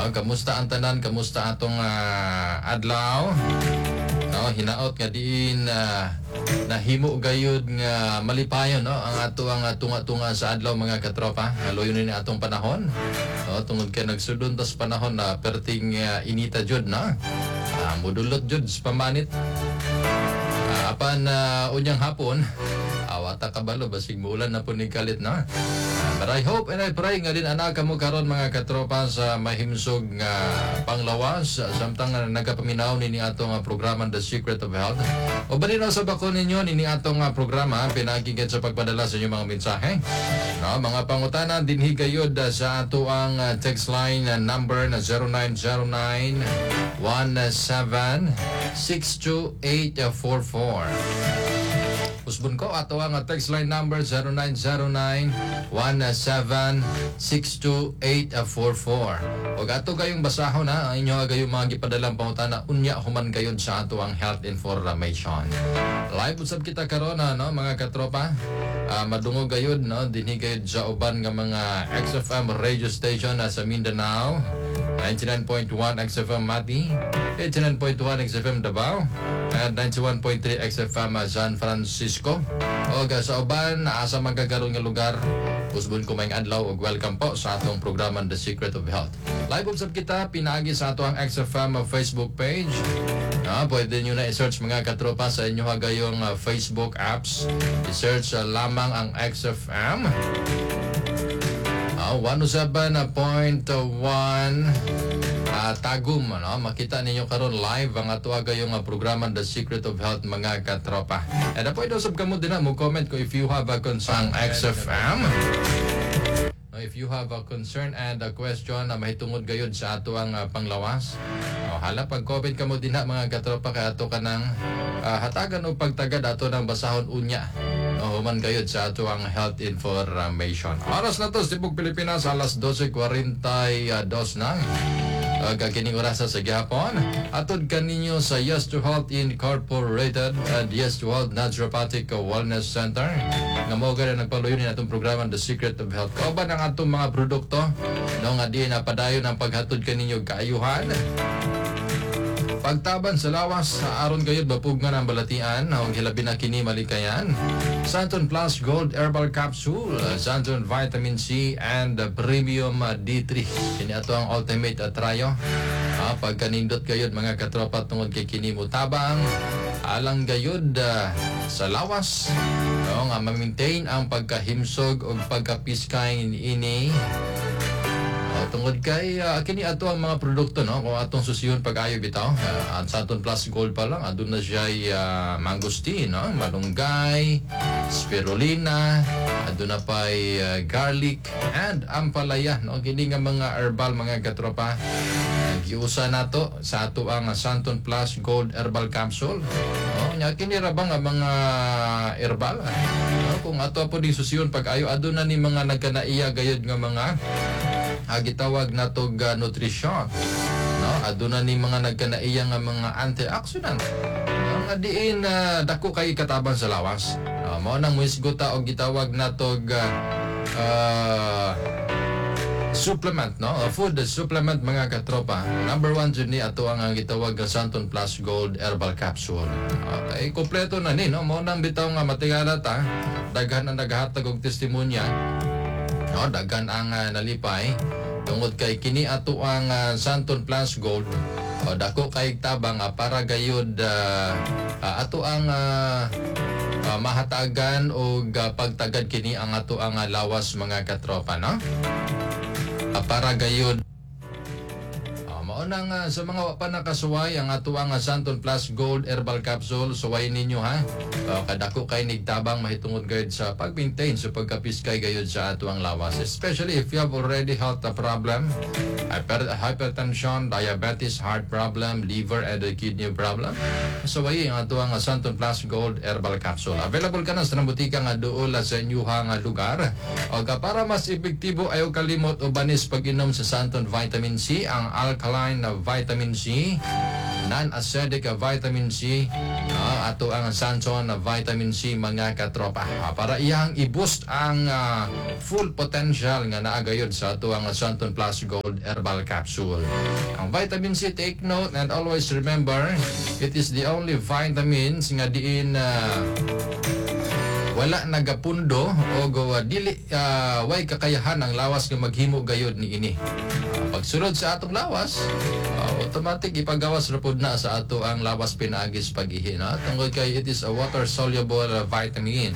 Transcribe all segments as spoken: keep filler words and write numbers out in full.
No, kamusta ang tanan? Kamusta atong ah, adlaw? No, hinaot nga diin uh, nahimo gayud nga malipayon, no, ang ato ang tunga-tunga sa adlaw, mga katropa. Haloyon ni atong panahon. No, tungod kay nagsudon tas panahon na perting uh, inita jud, no. Uh, mudulot jud sa pamanit. Uh, apan uh, unyang hapon, awata kabalo basig muulan na po ni kalit, no. Uh, but I hope and I pray nga din anak kamo karon, mga katropa, sa mahimsog nga panglawas samtang nga nagapaminaw nini atong uh, programa, The Secret of Health. O ba din sa bako ninyo nini atong uh, programa pinagi sa pagpadala sa inyong mga mensahe. No, mga pangutana dinhi gayud uh, sa ato ang uh, text line uh, number na zero nine zero nine one seven six two eight four four. Usbon ko ato ang text line number zero nine zero nine one seven six two eight four four. Og ato kayong basahon na ang inyo gayong mga gipadalang pangutana unya human gayud sa ato ang health information. Live usab kita karon na, no, mga katropa. Uh, madungog gayud, no, dinhi gayud sa uban nga mga X F M radio station na sa Mindanao. ninety-nine point one X F M Mati, eighty-nine point one X F M Davao, and ninety-one point three X F M San Francisco. O sa uban, asa man kagaron nga lugar, usbon ko maayong adlaw ug welcome po sa atong programa, The Secret of Health. Live usab kita pinaagi sa ato ang X F M Facebook page. Ah, pwede nyo na i-search, mga katropa, sa inyo gayong uh, Facebook apps. I-search uh, lamang ang X F M. Ah, one oh seven point one uh, Tagum, ano? Makita ninyo karon live ang ato gayong uh, programa, The Secret of Health, mga katropa. And uh, pwede usab kamo din mo comment ko if you have a concern X F M. No, if you have a concern and a question na mahitungod gayud sa ato ang uh, panglawas. O, hala pag comment kamo dinha, mga katropa, kay ato kanang uh, hatagan og pagtagad, ato nang basahon unya. No, human gayud sa ato ang health information. Oras na to sa tibok Pilipinas, alas dose kwarenta y dos na. Uh, kining orasa sa gihapon. Atod kaninyo sa Yes to Health Incorporated and Yes to Health Naturopathic Wellness Center. Nga mao gani nagpaluyo ni atong programa, The Secret of Health. Kauban ang atong mga produkto, no, nga di na padayon ang paghatod kaninyo kaayuhan. Pagtaban sa lawas sa aron gayud mapugnan ang balatian ug hilabi na kini malikayan. Santon Plus Gold Herbal Capsule, Santon Vitamin C and Premium D three. Kini ato ang ultimate trio. Ah, pagkanindot gayud, mga katropa, tungod kay kini mutabang alang gayud ah, sa lawas. No, nga ma-maintain ang pagkahimsog ug pagkapiskay ini. Oh, tungod kay uh, kini ato ang mga produkto, no, kung atong susihon pag-ayo bitaw, uh, ang Santon Plus Gold pa lang aduna siya uh, mangosteen, no, malunggay, spirulina, aduna pay uh, garlic and ampalaya, no. Kini nga mga herbal, mga katropa, uh, giusa nato sa ato ang Santon Plus Gold Herbal Capsule, no. Nya kini ra ba nga mga herbal, no, kung ato po ding susihon pag-ayo, aduna ni mga nagkanaiya gayud nga mga uh, gitawag natog uh, nutrisyon, no. Aduna ni mga nagkanaiya nga mga antioxidant, no, nga diin uh, dako kay katabang sa lawas, no. Mao nang muhisgot ta og gitawag natog uh, uh, supplement, no. A food supplement, mga katropa. Number one jud ni ato ang ang gitawag nga Santon Plus Gold Herbal Capsule. Okay, kompleto na ni, no. Mao nang bitaw nga matingala ta, daghan ang naghatag og testimonya, no, daghan ang uh, nalipay tungod kay kini ato ang uh, Santon Plus Gold o dako kay tabang uh, para gayud uh, uh, ato ang uh, uh, mahatagan og uh, pagtagad kini ang ato ang uh, lawas, mga katropa, no, uh, para gayud. Uh, mao nang uh, sa mga wa pa nakasuway ang ato ang uh, Santon Plus Gold Herbal Capsule, suway ninyo ha. Uh, kadako kay nigtabang mahitungod gayud sa pag-maintain sa pagkapiskay gayud sa ato ang lawas. Especially if you have already health problem, hyper, hypertension, diabetes, heart problem, liver and kidney problem. Suway ang ato ang Santon Plus Gold Herbal Capsule. Available ka na sa butika nga duol sa inyuhang lugar. O para mas epektibo, ayaw kalimot o banis pag-inom sa Santon Vitamin C, ang alkaline na vitamin C, non-acidic vitamin C, uh, ato ang Santon Vitamin C, mga katropa, Ah, para iyang i-boost ang ah, full potential nga naa gayod sa ato ang Santon Plus Gold Herbal Capsule. Ang vitamin C, take note and always remember, it is the only vitamins nga diin ah, wala nagapundo o uh, dili uh, way kakayahan ang lawas nga maghimo gayod ni ini. Uh, pagsulod sa atong lawas, uh, automatic ipagawas ra pud na sa ato ang lawas pinaagi sa pag-ihi, no? Tungod kay it is a water soluble uh, vitamin.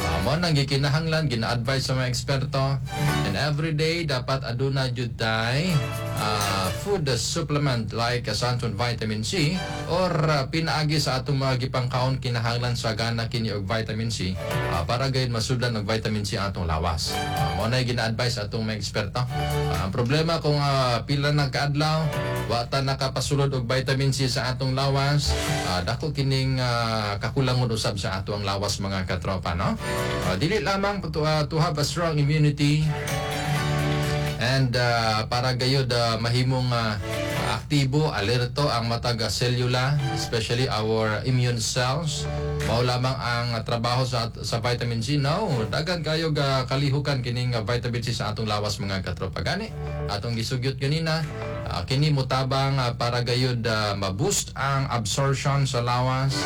Uh, mo nang gikinahanglan, gina-advise sa mga eksperto, and every day dapat aduna jud tay uh, food supplement like uh, Santon Vitamin C or uh, pinaagi sa atong mga gipangkaon, kinahanglan sagana kini og vitamin C uh, para gayud masudlan og vitamin C ang atong lawas. Uh, mo na gina-advise sa atong mga eksperto. Uh, ang problema kung uh, pila na kaadlaw wa ta nakapasulod og vitamin C sa atong lawas, uh, dako kining uh, kakulangon usab sa ato ang lawas, mga katropa, no? Uh, dili lamang to, uh, to have a strong immunity and uh, para gayod uh, mahimong uh, aktibo, alerto ang matag uh, selula, especially our immune cells. Mao lamang ang trabaho sa sa vitamin C. No, daghan kayo ga kalihukan kining uh, vitamin C sa atong lawas, mga katropa. Gani, atong gisugyot ganina, uh, kini mutabang uh, para gayod uh, ma-boost ang absorption sa lawas.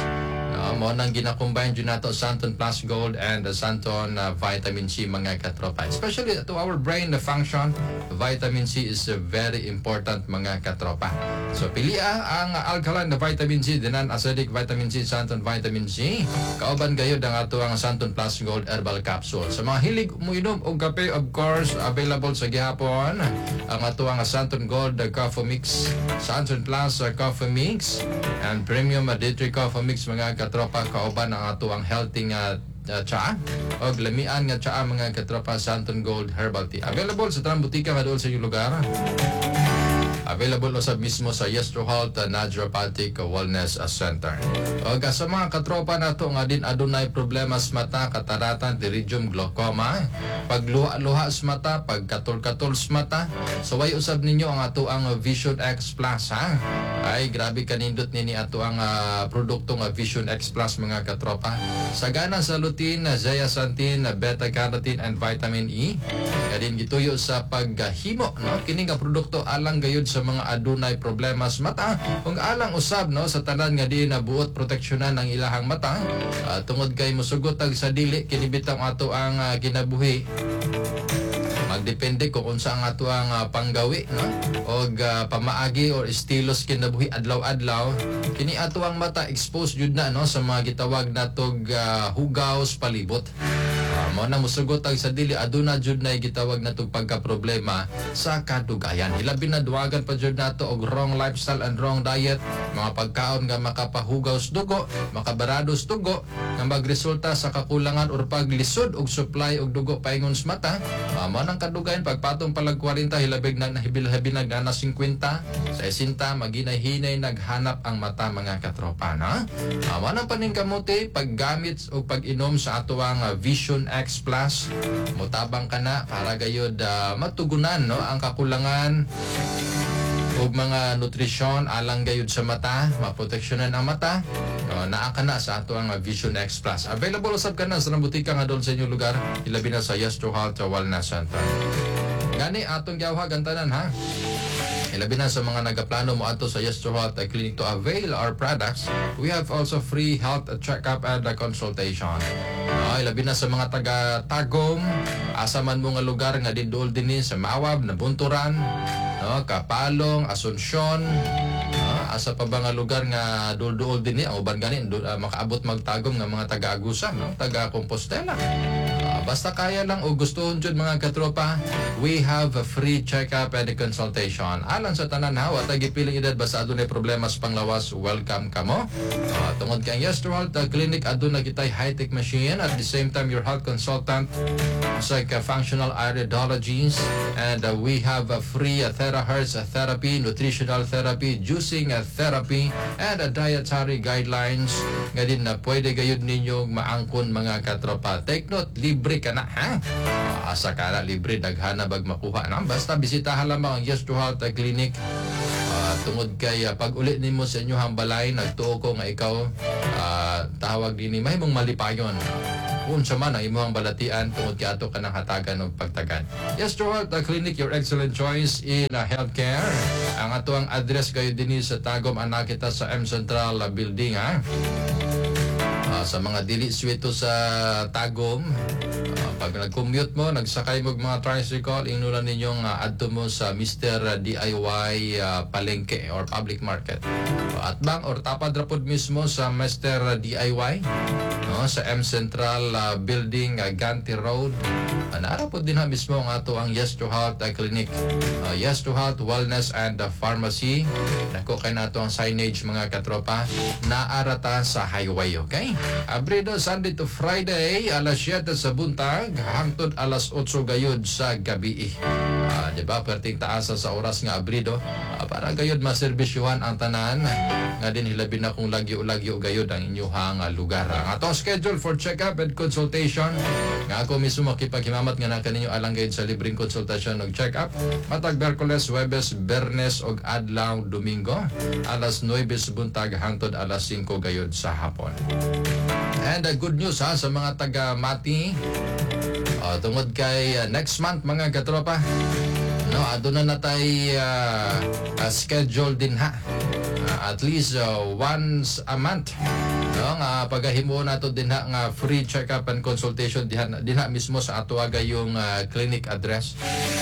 Uh, mo nang gina-combine jud nato Santon Plus Gold and the Santon uh, Vitamin C, mga katropa. Especially to our brain the function, vitamin C is uh, very important, mga katropa. So pilia ang alkaline na vitamin C, the non-acidic vitamin C, Santon Vitamin C. Kauban gayod ang ato ang Santon Plus Gold Herbal Capsule. Sa mga hilig mo inom og kape, of course, available sa gihapon ang ato ang Santon Gold Coffee Mix, Santon Plus uh, Coffee Mix, and Premium D three Coffee Mix, mga katropa, kauban ang ato ang healthy nga uh, tsaa og lamian nga tsaa, mga katropa, Santon Gold Herbal Tea. Available sa tanang butika nga duol sa inyong lugar. Available usab mismo sa Yestro Health uh, Naturopathic Wellness Center. Og uh, sa mga katropa nato nga din adunay problema sa mata, katarata, pterygium, glaucoma, pagluha-luha sa mata, pagkatol-katol sa mata, saway usab ninyo ang ato ang Vision X Plus, ha. Ay, grabe kanindot nini ato ang uh, produkto nga Vision X Plus, mga katropa. Sagana sa lutein, zeaxanthin, beta carotene and vitamin E. Kadin gituyo sa paghimo, no, kini nga produkto alang gayud sa mga adunay problema sa mata kung alang usab, no, sa tanan nga di na buot proteksyonan ang ilahang mata uh, tungod kay musugot tag sa dili kini bitang ato ang uh, kinabuhi, magdepende kung unsa ang ato ang uh, panggawi, no, og uh, pamaagi or estilos kinabuhi adlaw-adlaw. Kini ato ang mata exposed jud na, no, sa mga gitawag natog uh, hugaw sa palibot. Uh, mao na musugot ang sa dili, aduna jud na gitawag natog pagka-problema sa kadugayan. Hilabi na duwagan pa jud nato og wrong lifestyle and wrong diet, mga pagkaon nga makapahugaw sa dugo, makabarado sa dugo, nga magresulta sa kakulangan or paglisod og supply og dugo paingon sa mata. Uh, mao nang kadugayan pagpatong palag kwarenta, hilabig na nahibil-hibil na na singkwenta, sesenta, maginay-hinay naghanap ang mata, mga katropa, no? Uh, mao nang paningkamuti paggamit o pag-inom sa atoang uh, Vision X Plus, mutabang ka na para gayod uh, matugunan, no, ang kakulangan ug mga nutrisyon alang gayud sa mata, maproteksyonan ang mata, no, naa ka na sa ato ang Vision X Plus. Available usab ka na sa butika nga doon sa inyong lugar, ilabi na sa Yestro Health Wellness Center. Gani atong gawhag ang tanan, ha. Ilabi na sa mga nagaplano mo adto sa Yestro Health Clinic to avail our products, we have also free health check-up and consultation. No, ilabi na sa mga taga Tagum, asa man mo nga lugar nga dinduol dinhi sa Mawab, Nabunturan, no, Kapalong, Asuncion, no, asa pa ba nga lugar nga duol-duol dinhi, ang uban gani du, uh, makaabot magtagom nga mga taga Agusan, no, taga Compostela. Uh, basta kaya lang o gustuhon jud, mga katropa, we have a free check-up and a consultation. Alang sa tanan, ha, wa tay gipiling edad, basta adunay problema sa panglawas, welcome kamo. Uh, tungod kay ang Yestro Health uh, Clinic aduna kitay high-tech machine, at the same time your health consultant like a functional iridologist, and uh, we have a free uh, terahertz therapy, nutritional therapy, juicing uh, therapy, and uh, dietary guidelines nga din na pwede gayud ninyo maangkon, mga katropa. Take note, libre ka na, ha? Uh, asa ka na libre, daghana bag makuha na. Basta bisitahan lamang ang Yes to Health Clinic. Uh, tungod kay uh, pag uli nimo sa inyong balay, nagtuo ko nga ikaw uh, tawag dinhi mahimong malipayon unsa man ang imong balatian tungod kay ato kanang hatagan og pagtagad. Yes to Health uh, Clinic, your excellent choice in uh, healthcare. Ang ato ang address kayo dinhi sa Tagum ana kita sa M Central uh, Building ha. Ah, sa mga dili swito sa Tagum, ah, pag nag-commute mo, nagsakay mo og mga tricycle, ingnulan ninyong uh, adto mo sa Mister D I Y ah, Palengke or Public Market. At bang or tapad ra pod mismo sa Mister D I Y, no, sa M Central ah, Building, uh, Ganti Road. Uh, naara pod din ha mismo ang ato ang Yes to Health ah, Clinic. Ah, Yes to Health Wellness and ah, Pharmacy. Dako kay nato ang signage, mga katropa. Naarata sa highway, okay? Abrido Sunday to Friday, alas siyete sa buntag hangtod alas otso gayud sa gabi. Ah, di ba? Perting taasa sa oras nga abrido ah, para gayud maserbisyuhan ang tanan nga din hilabi na kung lagyo-lagyo gayud ang inyong ah, lugar. Ang atong schedule for check-up and consultation nga ako mismo makipaghimamat nga na kaninyo alang gayud sa libreng konsultasyon ug check-up matag Miyerkules, Huwebes, Biyernes ug adlaw Domingo alas nuwebe sa buntag hangtod alas singko gayud sa hapon. And uh, good news ha sa mga taga Mati. Uh, tungod kay uh, next month, mga katropa, no, aduna na tay uh, uh, schedule din ha. Uh, at least uh, once a month. No, nga pagahimo nato din ha nga free check-up and consultation diha dinha mismo sa ato yung uh, clinic address,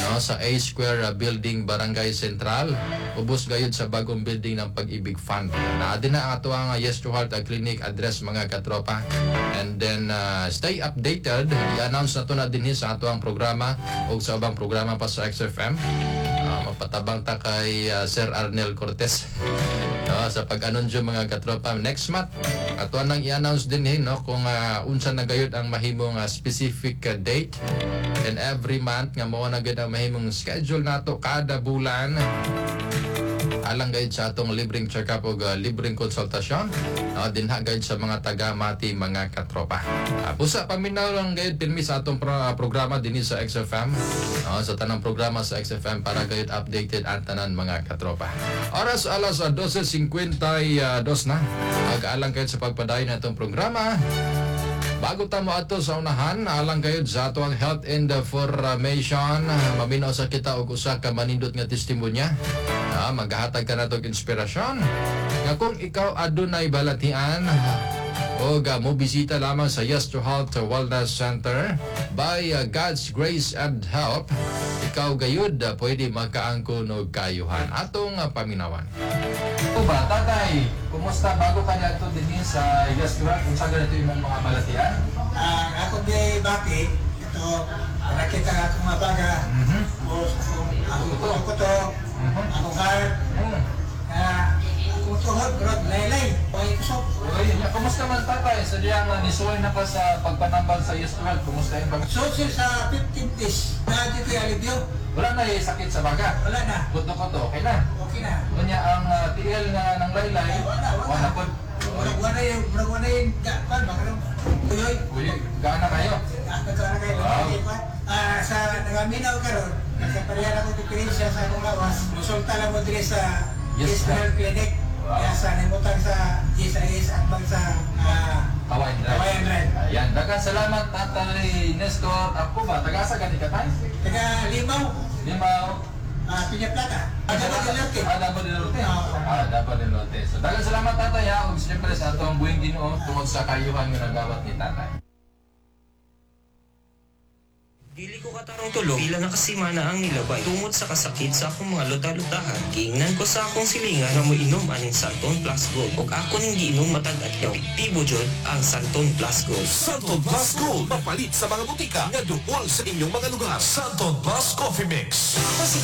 no, sa A Square uh, Building, Barangay Central, ubos gayud sa bagong building ng Pag-ibig Fund. Na din na ang ato ang uh, Yes to Heart uh, Clinic address, mga katropa. And then uh, stay updated. I-announce na to na dinhi sa ato ang programa ug sa ubang programa pa sa X F M. Uh, mapatabang ta kay uh, Sir Arnel Cortez, no, sa pag-anunsyo, mga katropa, next month ato nang i-announce din eh, no, kung uh, unsa na gayud ang mahimong uh, specific uh, date and every month nga mao na gayud ang mahimong schedule nato kada bulan alang gayud sa atong libreng check-up ug uh, libreng konsultasyon uh, dinha gayud sa mga taga Mati, mga katropa. Uh, busa paminaw lang gayud pirmi sa atong pro- uh, programa dinhi sa X F M, uh, sa tanang programa sa X F M para gayud updated ang tanan, mga katropa. Oras alas uh, dose singkwenta y dos na. Ag-alang gayud sa pagpadayon na itong programa. Bago ta mo ato sa unahan, alang gayud sa ato ang health information, maminaw sa kita og usa ka manindot nga testimonya. Ah, maghahatag ka nato og inspirasyon. Nga kung ikaw adunay balatian o uh, mo bisita lamang sa Yes to Health Wellness Center, by uh, God's grace and help, ikaw gayud uh, pwede makaangkon og kayuhan. Atong uh, paminawan. O ba, tatay, kumusta bago ka niadto dinhi sa Yes to Health? Unsa ganito imong mga balatian? Ang ako di bati, ito, nakita nga akong mga baga, Mhm. o akong akong kuto-kuto, Mhm. akong heart, Mm. nga akong tuhod, rod, laylay, okay kusog. Uy, nya, kumusta man, tatay? Sa diyang uh, nisuway na ka sa pagpanambal sa Yes to Health, kumusta yung pag... So, sir, sa fifteen days, na dito yung alibyo, Wala na eh, sakit sa baga. Wala na. Kuto-kuto, okay na. Okay na. Unya ang uh, tiil nga ng laylay, Wala, wala. Wala pod. Murag wala yung, murag wala yung, ga- kan, baka nung, uyoy, Uy, gaana kayo. Ah, nagkaroon kayo, Wow. Ah, sa nangaminaw karon, nagkaparehan ako diferensya sa akong lawas. Musulta lang mo diri sa Yes, Yes Health Clinic. Wow. Kaya sa nimutang sa G S I S at bang sa ah, Kawayan Drive. Kawayan Drive. Ayan, daghang salamat, Tatay Nestor. Ako ba, taga-asa gani ka, tay? Taga Limaw, Limaw. ah, Piña Plata. Ah, Davao del Norte. Ah, Davao del Norte. Oo. Ah, Davao del Norte. So, daghang salamat, tatay ha. Ug siyempre sa atong buhing Ginoo tungod sa kayuhan nga nagawat ni tatay. Dili ko katarong tulog, pila na kasimana ang nilabay. Tungod sa kasakit sa akong mga luta-lutahan, giingnan ko sa akong silingan nga moinom aning Santon Plus Gold. Ug ako ning giinom matag adlaw. Epektibo jud ang Santon Plus Gold. Santon Plus Gold. Mapalit sa mga butika nga duol sa inyong mga lugar. Santon Plus Coffee Mix. Kasi